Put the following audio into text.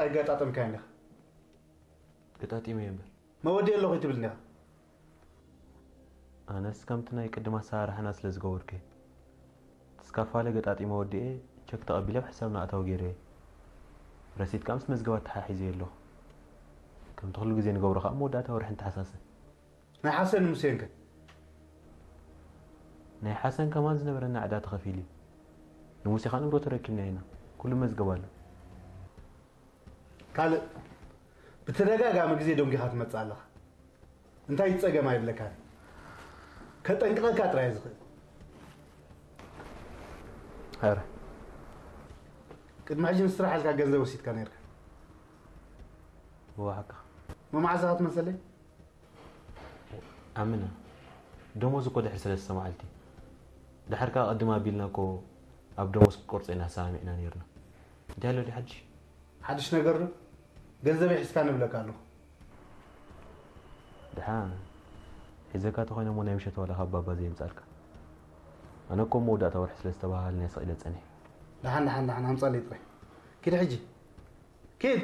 ኣይገጣጠምካዮን ኢኻ። ገጣጢመ እየ እምበር። መወዲእ ኣለኹ ትብል እንዲኻ። ኣነስ ከምቲ ናይ ቅድም ኣሰራርሓና ስለ ዝገበርኩ እየ። እቲ ስካፋለ ገጣጢመ ወዲኤ ቸክ ተቐቢለ ኣብ ሕሳብና ኣታዊ ገይረ እየ። ረሲት ከዓ ምስ መዝገብ ኣተሓሒዘ ኣለኹ። ከምቲ ኩሉ ግዜ ንገብሮ ከዓ መወዳእታ ወርሒ ንተሓሳሰ። ናይ ሓሰን ሙሴን ከ? ናይ ሓሰን ከማን ዝነበረና ዕዳ ተኸፊሉ እዩ። ንሙሴ ከዓ ንብረቱ ረኪብና ኢና። ኩሉ መዝገብ ኣሎ። ካልእ ብተደጋጋሚ ግዜ ደንጊኻ ትመጽእ ኣለኻ። እንታይ ጸገም ኣይብለካን። ከጠንቅቐካ ጥራይ ዝኽእል። ኧረ ቅድሚ ሕጂ ንስራሕ ኢልካ ገንዘብ ወሲድካ ነርካ። እወ ሓቅኻ። መማዕዛኻ ትመሰለይ? ኣምና ደሞዝ እኮ ድሕሪ ሰለስተ መዓልቲ። ድሓር ከዓ ቅድም ኣቢልና እኮ ኣብ ደሞዝ ክትቆርጾ ኢና ተሰማሚዕና ነይርና። እንታይ ኣሎ ድዩ ሓድሽ? ሓድሽ ነገር ዶ? ገንዘብ ይሕዝካ ንብለካ ኣለኹ። ድሓን ሒዘካ ተኾይነ እሞ ናይ ምሸት ዋላ ካብ ባባ ዘየምጻልካ። ኣነ እኮ መወዳእታ ወርሒ ስለ ዝተባሃልና ስቕ ኢለ ጸኒሐ። ደሓን ደሓን ደሓን ኣምጻለይ ጥራይ። ኪድ ሕጂ ኪድ።